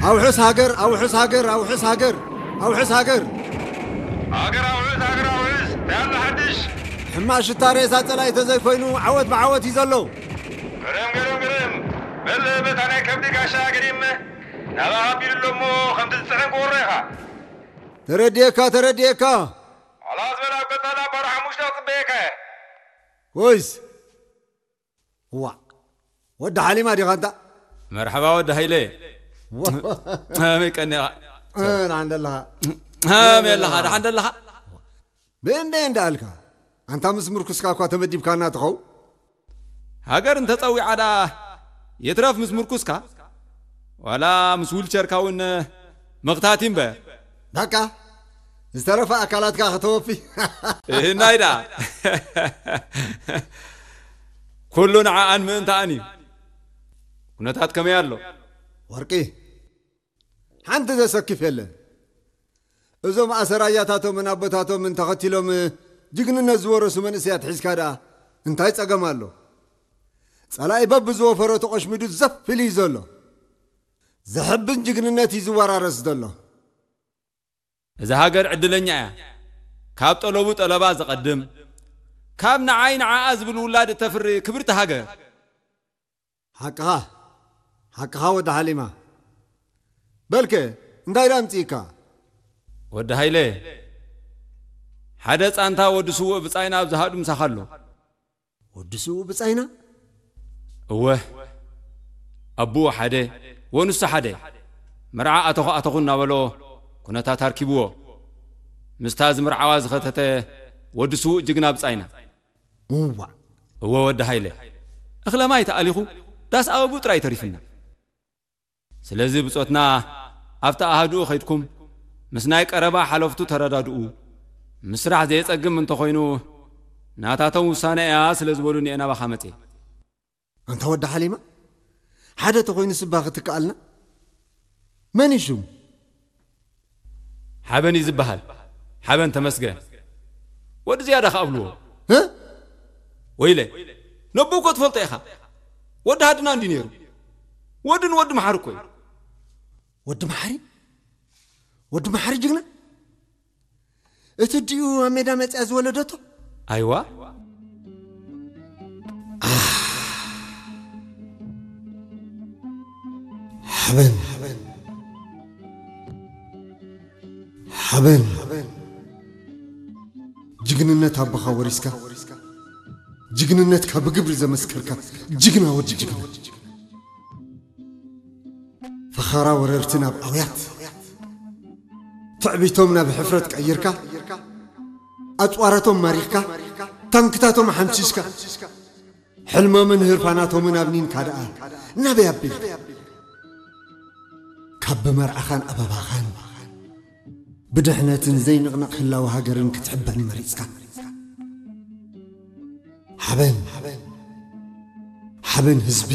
ኣውሕስ ሃገር፣ ኣውሕስ ሃገር፣ ኣውሕስ ሃገር፣ ኣውሕስ ሃገር። ሃገር ኣውሕስ፣ ሃገር ኣውሕስ፣ እንታይ ኣሎ ሓድሽ? ሕማቕ ሽታ ሬሳ ጸላኢ ተዘይኮይኑ ዓወት ብዓወት እዩ ዘሎ። ግርም፣ ግርም፣ ግርም። በል በታ ናይ ከብዲ ጋሻ ገዲም ናባኻ ኣቢሉ ኣሎ እሞ ከምቲ ዝጽዕን ክወሮ ኢኻ። ተረድኤካ፣ ተረድኤካ። ኣላ ዝበል ኣብ ቀጻላ ባዶ ሓሙሽተ ክጽበየካ እየ። ወይስ እዋ፣ ወዲ ሓሊማ ዲኻ እንታ? መርሓባ ወዲ ሃይለ። ዋ። ከመይ ቀኒኻ? እ፣ ደሓን ደለኻ? ከመይ ኣለኻ? ደሓን ደለኻ? ብእንደይ እንዳኣልካ? ኣንታ ምስ ምርኩስካ እኳ ተመዲብካና ትኸው? ሃገር እንተጸዊዓ ደኣ የትረፍ ምስ ምርኩስካ? ዋላ ምስ ዊልቸርካ እውን መኽታት እዩ እምበር። በቃ፣ ዝተረፈ ኣካላትካ ከተወፊ። እህናይ ደኣ። ኩሉ ንዓኣን ምእንታኣን እዩ። ኩነታት ከመይ ኣሎ? ወርቂ፣ ሓንቲ ዘሰክፍ የለን። እዞም ኣሰራያታቶምን ኣቦታቶምን ተኸቲሎም ጅግንነት ዝወረሱ መንእሰያት ሒዝካ ደኣ እንታይ ጸገም ኣሎ? ጸላኢ በብዝወፈሮ ተቖሽሚዱ ዘፍ ኢሉ እዩ ዘሎ። ዘሕብን ጅግንነት እዩ ዝወራረስ ዘሎ። እዛ ሃገር ዕድለኛ እያ። ካብ ጠለቡ ጠለባ ዝቐድም፣ ካብ ንዓይ ንዓኣ ዝብል ውላድ እተፍሪ ክብርቲ ሃገር። ሓቅኻ፣ ሓቅኻ ወዲ ሓሊማ። በልከ፣ እንታይ ደኣ ኣምጺእካ? ወዲ ሃይለ፣ ሓደ ጻንታ ወዲ ስዉእ ብጻይና ኣብ ዝሃዱ ምሳኻ ኣሎ። ወዲ ስዉእ ብጻይና? እወ፣ ኣቦኡ ሓደ፣ ወንሱ ሓደ። መርዓ ኣተኹ ኣተኹ እናበሎ ኩነታት ኣርኪብዎ። ምስታ ዝምርዓዋ ዝኸተተ ወዲ ስዉእ ጅግና ብጻይና። እዋ። እወ ወዲ ሃይለ፣ እኽለ ማይ ተኣሊኹ ዳስ ኣበብኡ ጥራይ ተሪፍና። ስለዚ ብጾትና ኣብቲ ኣሃዱኡ ኸይድኩም ምስ ናይ ቀረባ ሓለፍቱ ተረዳድኡ። ምስራሕ ዘየጸግም እንተኾይኑ ናታቶም ውሳነ እያ ስለ ዝበሉኒ እየ ናባኻ መጽየ። ኣንታ ወዲ ሓሊማ፣ ሓደ ተኾይኑ ስባ ክትከኣልና? መን እዩ ሽሙ? ሓበን እዩ ዝበሃል። ሓበን ተመስገን። ወዲ ዝያዳ ከኣ ብልዎ። እ? ወይለ፣ ነቦ እኮ ትፈልጦ ኢኻ። ወዲ ሃድና እንዲ ነይሩ። ወዲ ንወዲ መሓሪ እኮ እዩ። ወዲ መሓሪ? ወዲ መሓሪ ጅግና? እቲ ዲኡ ኣብ ሜዳ መጽያ ዝወለደቶ? ኣይዋ። ሓበን። ሓበን። ጅግንነት ኣቦኻ ወሪስካ፣ ጅግንነትካ ብግብሪ ዘመስከርካ ጅግና ወዲ ጅግና። ፈኸራ ወረርቲ ናብ ኣውያት፣ ትዕቢቶም ናብ ሕፍረት ቀይርካ፣ ኣጽዋራቶም ማሪኽካ፣ ታንክታቶም ሓምሲስካ፣ ሕልሞምን ህርፋናቶምን ኣብኒንካ ደኣ ናበይ ኣቢልካ? ካብ ብመርዓኻን ኣበባኻን ብድሕነትን ዘይንቕነቕ ህላወ ሃገርን ክትሕበን መሪጽካ። ሓበን፣ ሓበን ህዝቢ፣